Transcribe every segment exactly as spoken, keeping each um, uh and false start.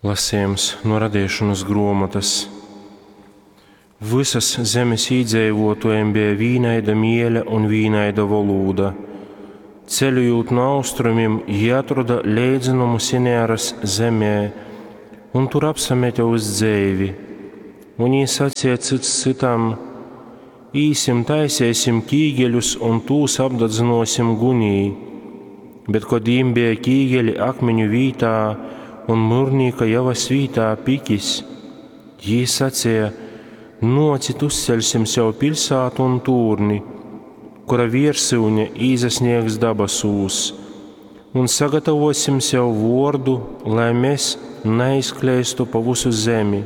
Lasījums no radīšanas gruomotas. Visas zemes īdzīvotājiem bija vienaida miele un vienaida volūda. Ceļojot no austrumiem, jie atrada leidzenumu Sinearas zemē un tur apsamete uz dzeivi. Un jī sacīja cits citam: Īsim, taisēsim kīgeļus un tūs apdadzinosim gunī. Bet, kad jīm bija kīgeļi akmeņu vītā un mūrnīka javas vītā pikis, jī sacīja: Nocit uzceļsim sev pilsētu un tūrni, kura viersyune īsasniegs dabasūs, un sagatavosim sev vordu, lai mēs neizkleistu pa visu zemi.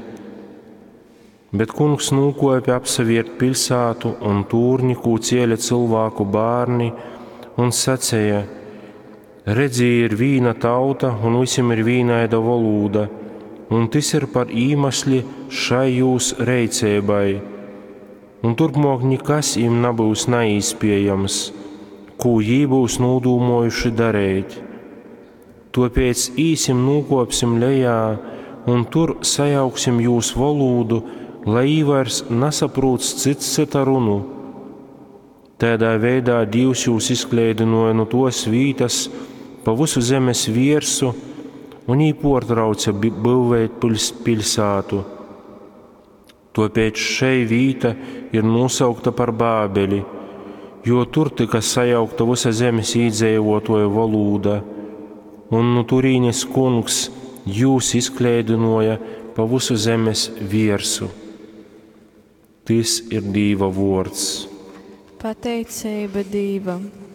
Bet kungs nūkopja apsaviert pilsētu un tūrni, kū cēla cilvēku bārni, un sacīja: Redzī, ir vīna tauta, un visiem ir vīnaida volūda, un tas ir par īmesli šai jūs reicēbai. Un turpmāk nekas im nebūs neīspējams, ko jī būs nūdūmojuši darīt. Tāpēc īsim nūkopsim lejā un tur sajauksim jūs volūdu, lai jī vairs nesaprūt cits cita runu. Tādā veidā Dievs jūs izkleidinoja no tos vītas pa visu zemes viersu un jī portrauca būvēt pils, pilsētu. Tāpēc šei vīta ir nosaukta par Bābeli, jo tur tika sajaukta visa zemes iedzīvotāju valoda, un no turīnes kungs jūs izkleidinoja pa visu zemes viersu. Tis ir Dīva vords. Pateicība Dīvam!